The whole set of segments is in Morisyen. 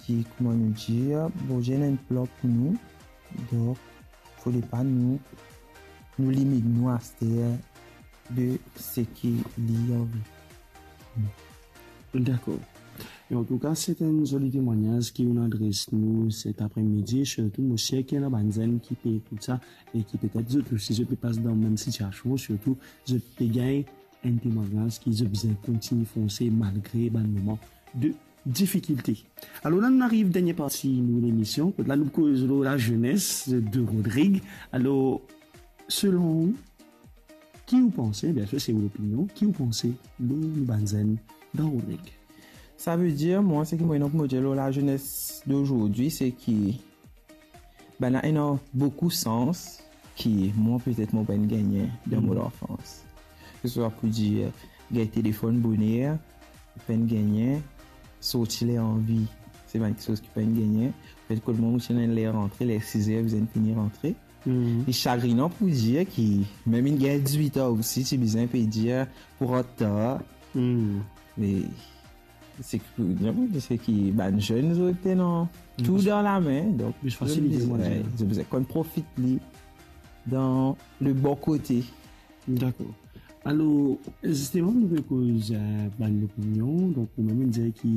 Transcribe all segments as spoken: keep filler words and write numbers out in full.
ki, kouma nou dir, Bondie ena enn plan pou nou. Donk, fode pa nou, nou limit nou aster de seki li anvi. Dakor. E antouka, se enn zoli temwagnaz ki ou'nn adres nou set apremidi, sirtou mo sir ki ena bann zenn ki pe ekout sa e ki petet zot osi, zot pe pas dan mem sitiasion, sirtou zot pe gagn enn temwagnaz ki zot bizin kontign fonse malgre bann moman de difikilte. Alor la, nou ariv dernie parti nou lemision, kot la nou koz lor lazenes de Rodrig. Alor, selon ou, ki ou panse, biensir se ou lopinion, ki ou panse lor nou bann zenn dan Rodrig? Savedir, mwa, seki mo ena pou mo dir lor lazenes dozordi, se ki bann la ena boukou sans ki mwa, petet mo pa'nn gagne dan mo lanfans. Ke se swa pou dir, gagn telefonn boner, pa'nn gagne, sorti ler anvi, se bann kiksoz ki pa'nn gagne. Petet kot mwa, mo ti ena ler rantre, ler siz er, bizin fini rantre. E sagrinan pou dir ki mem inn gagn dizwit an osi, ti bizin pe dir pou rant tar. Me seki, seki bann zenn, zot ena tou dan lame, donk fasilite, zot bizin, zot bizin konn profit li dan le bon kote. Dakor. Alor, zisteman, nou pe koz, eh, bann lopinion. Donk, ou mem dir ki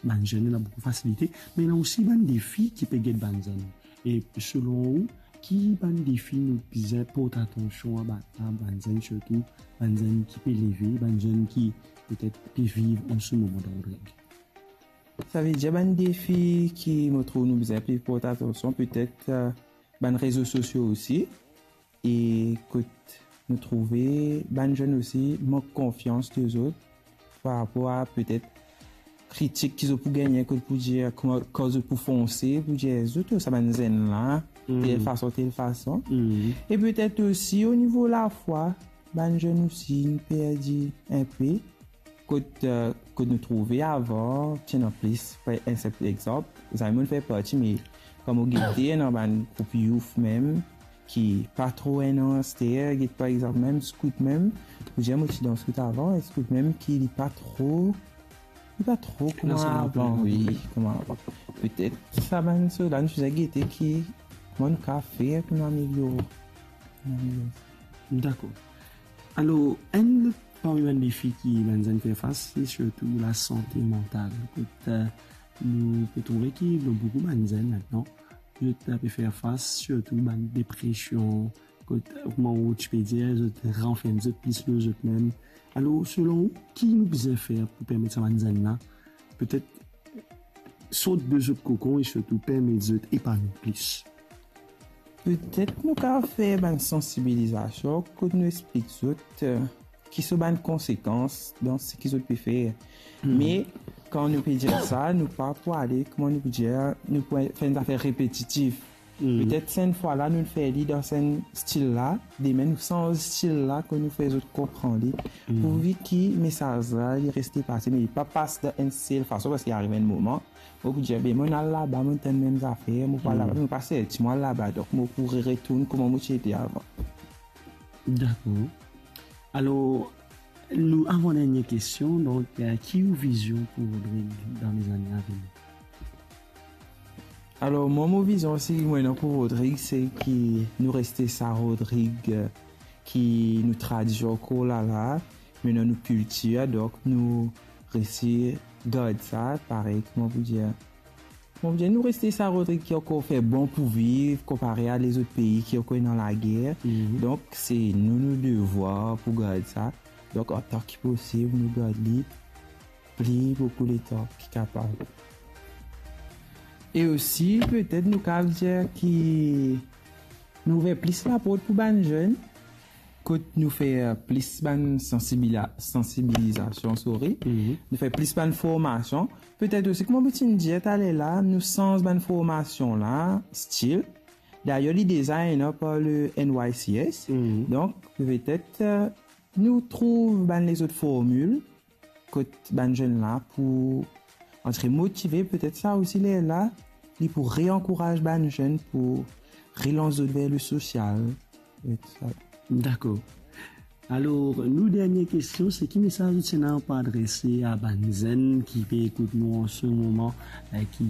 bann zenn ena boukou fasilite, me ena osi bann defi ki pe get bann zenn. E selon ou, ki bann defi nou bizin port atansion a ba-, a bann zenn, sirtou bann zenn ki pe leve, bann zenn ki petet pe viv an se moman dan Rodrig? Savedir bann defi ki mo trouv nou bizin pe port atansion, petet, eh, bann rezo sosio osi, e kot nou trouve bann zenn osi mank konfians de zot par rapor a petet kritik ki zot pou gagne, kot pou dir, kouma, kan zot pou fonse, pou dir, zot, sa bann zenn la, tel fason, tel fason. E petet osi o nivo lafwa, bann zenn osi inn perdi enpe. Kot, eh, kot nou trouve avan, ti ena plis, par enn sinp exanp, zame mo'nn fer parti, me kan mo gete ena bann group youth mem, ki pa tro ena aster, get par exanp mem scout mem, pou dir mo ti dan scout avan, e scout mem ki li pa tro, li pa tro kouma avan, wi, kouma avan. Petet sa bann sila nou bizin gete ki kouma nou kapav fer pou nou ameliore, pou nou ameliore. Dakor. Alor, enn lot parmi bann defi ki bann zenn fer fas, se sirtou lasante mantal. Kot, eh, nou pe trouve ki lor boukou bann zenn aster, zot pe fer fas sirtou bann depresion, kot, kouma ou ti pe dir, zot ranferm zot plis lor zot mem. Alor, selon ou, ki nou bizin fer pou permet sa bann zenn la, petet sort de zot kokon e sirtou permet zot epanoui plis? Petet nou kapav fer bann sansibilizasion kot nou explik zot, eh, ki so bann konsekans dan seki zot pe fer. Me kan nou pe dir sa, nou pa pou ale, kouma nou pou dir, nou pou fer enn zafer repetitif. Petet sa enn fwa la, nou fer li dan sa enn stil la, demin nou sanz stil la, kot nou fer zot konpran li. Pourvi ki mesaz la, li reste pase, me li pa pas dan enn sel fason, parski ariv enn moman, ou pou dir, be, mo'nn al laba, mo'nn tann mem zafer, mo pa laba, mo pa serti, mo al laba, donk mo pou re-, retourn kouma mo ti ete avan. Dakor. Alor, nou avan dernie kestion, donk, eh, ki ou vizion pou Rodrig dan lezane a vini? Alor, mwa, mo vizion osi, mo ena pou Rodrig, se ki nou reste sa Rodrig, eh, ki nou tradision ankor la la, me dan nou kiltir, donk nou resi gard sa, parey, kouma pou dir, kouma pou dir, nou reste sa Rodrig ki ankor fer bon pou viv, konpare a lezot pei ki ankor ena lager. Donk, se nou, nou devwar pou gard sa. Donk, antan ki posib, nou gard li pli boukou letan ki kapav. E osi, petet nou kapav dir ki nou ouver plis laport pou bann zenn, kot nou fer plis bann sansibila-, sansibilizasion, sorry. Nou fer plis bann formasion. Petet osi, kouma mo ti dir taler la, nou sanz bann formasion la, stil. Dayer, li deza ena par le N Y C S. Donk, petet, eh, nou trouv bann lezot formil kot bann zenn la pou antre motive, petet sa osi lerla, li pou reankouraz bann zenn pou relans zot ver le sosial, e tousa. Dakor. Alor, nou dernie kestion, se ki mesaz ou ti ena pou adrese a bann zenn ki pe ekout nou an se moman, eh, ki